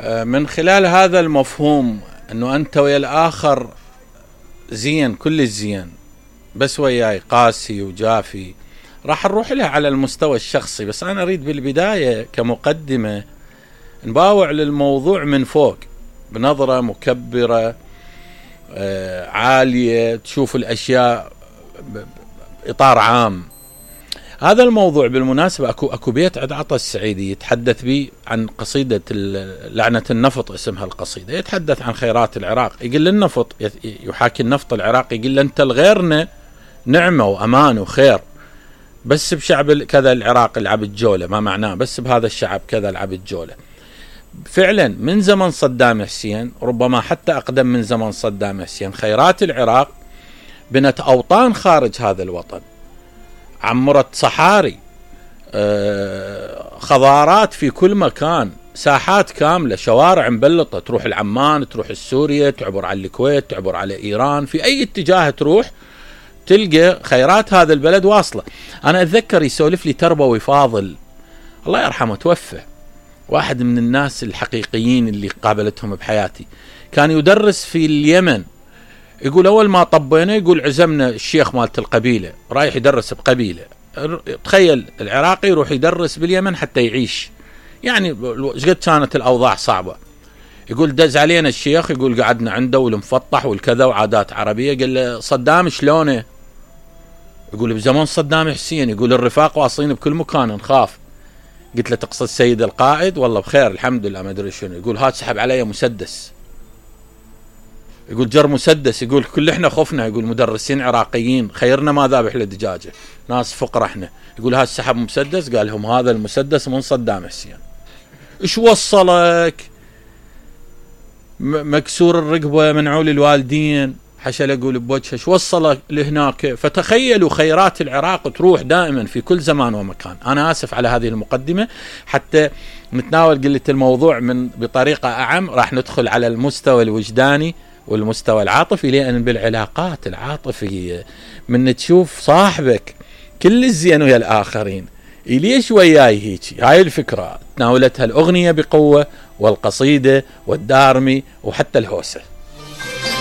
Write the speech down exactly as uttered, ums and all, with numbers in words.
من خلال هذا المفهوم انه انت ويا الاخر زين، كل الزين، بس وياي قاسي وجافي، راح نروح لها على المستوى الشخصي. بس انا اريد بالبداية كمقدمة نباوع للموضوع من فوق بنظرة مكبرة آه عالية، تشوف الاشياء باطار عام. هذا الموضوع بالمناسبة اكو اكو بيت عند عطا السعيدي يتحدث به عن قصيدة لعنة النفط، اسمها القصيدة، يتحدث عن خيرات العراق. يقول النفط يحاكي النفط العراقي، يقول انت الغيرنا نعمة وامان وخير، بس بشعب كذا العراق العب الجولة، ما معناه بس بهذا الشعب كذا العب الجولة. فعلا من زمن صدام حسين، ربما حتى اقدم من زمن صدام حسين، خيرات العراق بنت اوطان خارج هذا الوطن، عمرت صحاري، خضارات في كل مكان، ساحات كاملة، شوارع مبلطة، تروح العمان، تروح السوريا، تعبر على الكويت، تعبر على ايران، في اي اتجاه تروح تلقى خيرات هذا البلد واصلة. انا اتذكر يسولف لي تربوي فاضل الله يرحمه توفى، واحد من الناس الحقيقيين اللي قابلتهم بحياتي، كان يدرس في اليمن. يقول اول ما طبينا يقول عزمنا الشيخ مالت القبيلة رايح يدرس بقبيلة. تخيل العراقي يروح يدرس باليمن حتى يعيش، يعني قد كانت الاوضاع صعبة. يقول دز علينا الشيخ، يقول قعدنا عنده والمفطح والكذا وعادات عربية. قال له صدام شلونه؟ يقول بزمان صدام حسين، يقول الرفاق واصلين بكل مكان نخاف. قلت له تقصد سيد القائد؟ والله بخير الحمد لله ما ادري شنو. يقول هات سحب علي مسدس، يقول جر مسدس، يقول كل احنا خفنا، يقول مدرسين عراقيين خيرنا ما ذابح لدجاجه، ناس فقراء احنا. يقول هات سحب مسدس، قال لهم هذا المسدس من صدام حسين. ايش وصلك؟ مكسور الرقبه، منعول الوالدين، حشل اقول بوجهه، ايش وصلك لهناك؟ فتخيلوا خيرات العراق تروح دائما في كل زمان ومكان. انا اسف على هذه المقدمه حتى نتناول قلة الموضوع من بطريقه اعم، راح ندخل على المستوى الوجداني والمستوى العاطفي، لأن بالعلاقات العاطفية من تشوف صاحبك كل الزين ويا الآخرين ليش وياي هيك. هاي الفكرة تناولتها الأغنية بقوة، والقصيدة والدارمي وحتى الهوسة.